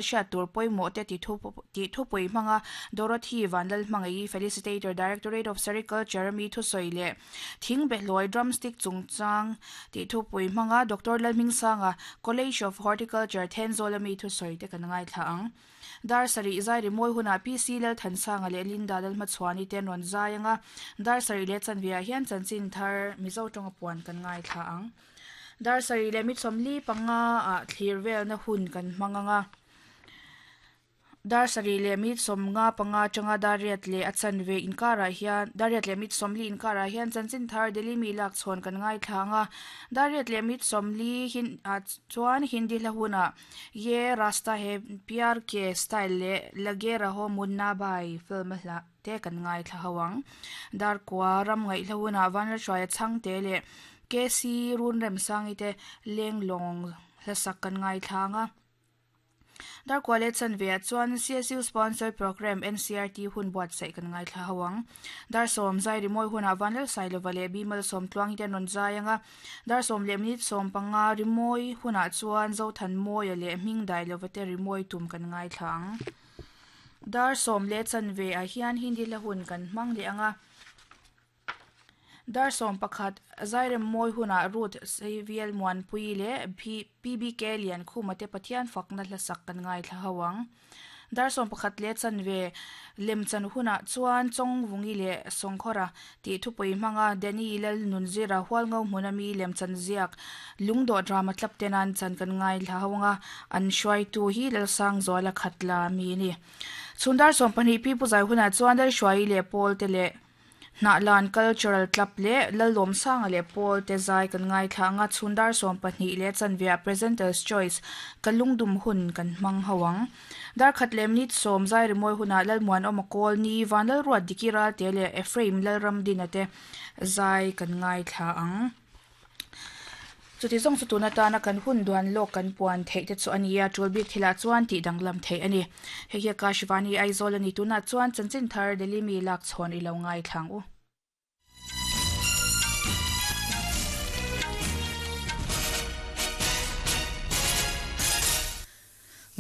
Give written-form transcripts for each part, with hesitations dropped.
Hriat tur pawimawh te tih thupui hmanga Dorothy Vanlalhmangaih Felicitator, Directorate of Sericulture a mi thusawi leh Thing behlawi drumstick chungchang tih thupui hmanga Doctor Lalhmingsanga, College of Horticulture, Thenzawl a mi thusawi te kan ngaithla ang. Dar sarih zai rimawi hunah PC Lalthansanga leh Linda Lalhmachhuani te an rawn zai ang a, dar sarih leh chanve ah hian chanchin thar Mizo tawnga puan kan ngaithla ang. Dar sarih leh mitsawmli panga ah thlir velna hun kan hmang ang a. Dar sarih leh mitsawmnga panga atanga dar riat leh a chanve inkarah hian dar riat leh mitsawmli inkarah hian chanchin thar Delhi mi lak chhawn kan ngaithla ang a. Dar riat leh mitsawmli hin ah chuan Hindi hla hunah Ye Rasta He Pyar Ke Style leh Lage Raho Munna Bhai film a hla te kan ngaithla ho ang. Darkua ram ngaihhla hunah Vanlalhruaia chhangte leh KC Runremsangi te lenglawng hlasak kan ngaithla ang a. Darkua leh chanve ah chuan CSU sponsored programme NCRT hun buatsaih kan ngaithla ho ang. Dar sawm zai rimawi hunah Vanlalsailova leh Bimal Sawmtluangi te an rawn zai ang a. Dar sawm leh minute 15 rimawi hunah chuan Zothanmawia leh Hmingdailova te rimawi tum kan ngaithla ang. Dar sawm leh chanve ah hian Hindi hla hun kan hmang leh ang a. Dar 11 Zairem mawi hunah Ruth Saviel Muanpui leh PBK Liankhuma te Pathian fakna hlasak kan ngaithla ho ang. Dar 11 leh chanve lemchan hunah chuan Chawngvungi leh Sawngkhawra tih thupui hmanga Danny Lalnunzira Hualngo hmuna mi lemchan ziak Lungdawh drama tlap ten an chan kan ngaithla ho ang a, an hruaitu hi Lalsangzuala Khatla mi a ni. Chhun dar 12 Pi Puzai hunah chuan Lalhruaii leh Paul te leh Hnahlan Cultural Club leh Lallawmsanga leh Paul te zai kan ngaithla ang a, chhun dar 12 leh chanveah Presenter's Choice ka lungdum hun kan hmang ho ang. Dar khat leh minute sawm zai rimawi hunah Lalmuanawma Kawl Ni, Vanlalruat Diki Ralte leh Ephraim Lalramdina te zai kan ngaithla ang. Chuti zawng chu tun atana kan hun duan lawk kan puan theih te chu a ni a, tul bik thilah chuan tih danglam theih a ni. Hei hi Akashvani Aizawl a ni, tunah chuan chanchin thar Delhi mi lak chhawn i lo ngaithla ang u.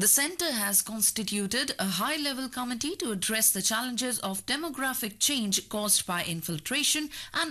The centre has constituted a high level committee to address the challenges of demographic change caused by infiltration and